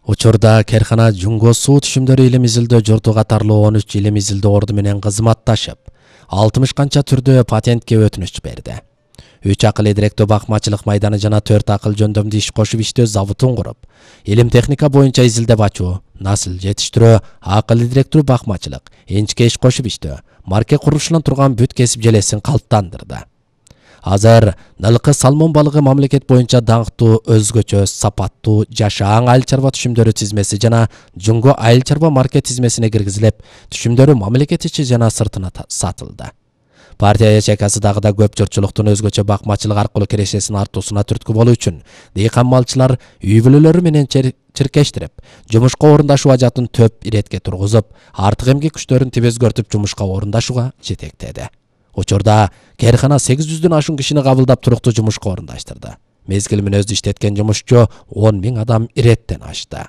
Учурда керкана Жунго суу түшүмдөрү илим изилдөө журту катарлуу 13 илим изилдөө орду менен кызматташып, 60 канча түрдө патентке өтүнүч берди. 3 акыл идиректөө бакмачылык майданы жана 4 акыл жөндөмдү иш кошуп иштөө заводун куруп, илим техника боюнча изилдеп ачуу, насыл жетиштирөө, акыл идиректөө бакмачылык, энчке иш кошуп иштөө, марке курулушунан турган бүт кесип желесин калыптандырды. Азыр Нылкы салмон балыгы мамлекет боюнча даңктуу, өзгөчө сапаттуу жашаан айыл чарба түшүмдөрү тизмеси жана Жунго айыл чарба марке тизмесине киргизилип, түшүмдөрү мамлекет ичи жана сыртына сатылды. Партия ячейкасы дагы да көп журтчулуктун өзгөчө бакмачылык аркылуу кирешесин артуусуна түрткү болуу үчүн дыйкан малчылар үй бүлөлөрү менен чиркештирип, жумушка орундашуу ажатын төп иретке тургузуп, артык эмгек күчтөрүн тибезгөртүп жумушка орундашууга жетектеди. Учурда керкана 800дөн ашуун кишини кабылдап туруктуу жумушка орундаштырды. Мезгил менен өзү иштеткен жумушчу 10 000 адам иреттен ашты.